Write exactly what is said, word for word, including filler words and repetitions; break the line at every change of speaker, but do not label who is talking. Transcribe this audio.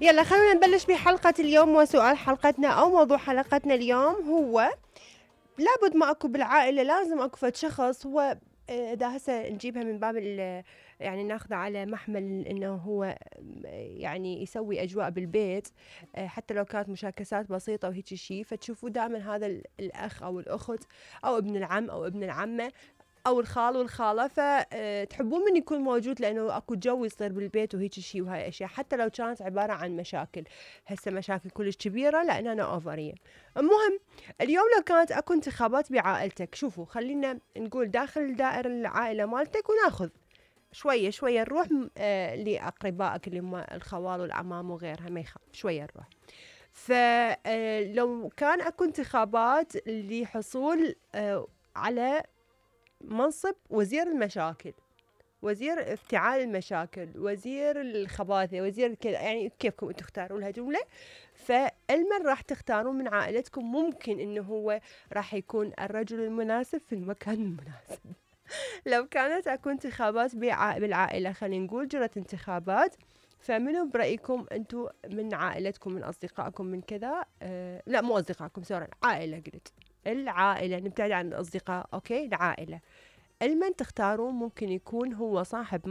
يلا خلونا نبلش بحلقة اليوم. وسؤال حلقتنا أو موضوع حلقتنا اليوم هو لابد ما أكو بالعائلة لازم أكو فد شخص هو إذا هسه نجيبها من باب يعني ناخذه على محمل إنه هو يعني يسوي أجواء بالبيت حتى لو كانت مشاكسات بسيطة وهيك شيء، فتشوفوا دائما هذا الأخ أو الأخت أو ابن العم أو ابن العمة أو الخال والخالة، فتحبون من يكون موجود لأنه أكو جو يصير بالبيت وهيك شيء وهاي أشياء، حتى لو كانت عبارة عن مشاكل هسه مشاكل كلش كبيرة لأن أنا أوفرية. المهم اليوم لو كانت أكو انتخابات بعائلتك، شوفوا خلينا نقول داخل دائرة العائلة مالتك وناخذ شوية شوية نروح آه لأقربائك اللي هم الخوال والعمام وغيرها، ما يخاف شوية نروح. فلو كان أكو انتخابات لحصول آه على منصب وزير المشاكل، وزير افتعال المشاكل، وزير الخباثة، وزير كذا، يعني كيفكم انتم تختاروا لها جملة. فالمن راح تختارون من عائلتكم ممكن انه هو راح يكون الرجل المناسب في المكان المناسب. لو كانت اكو انتخابات بالعائلة، خلينا نقول جرت انتخابات، فمنو برأيكم انتم من عائلتكم من اصدقائكم من كذا آه لا مو اصدقائكم سوري عائلة، قلت العائلة نبتعد عن الاصدقاء، اوكي العائلة، المن تختارون ممكن يكون هو صاحب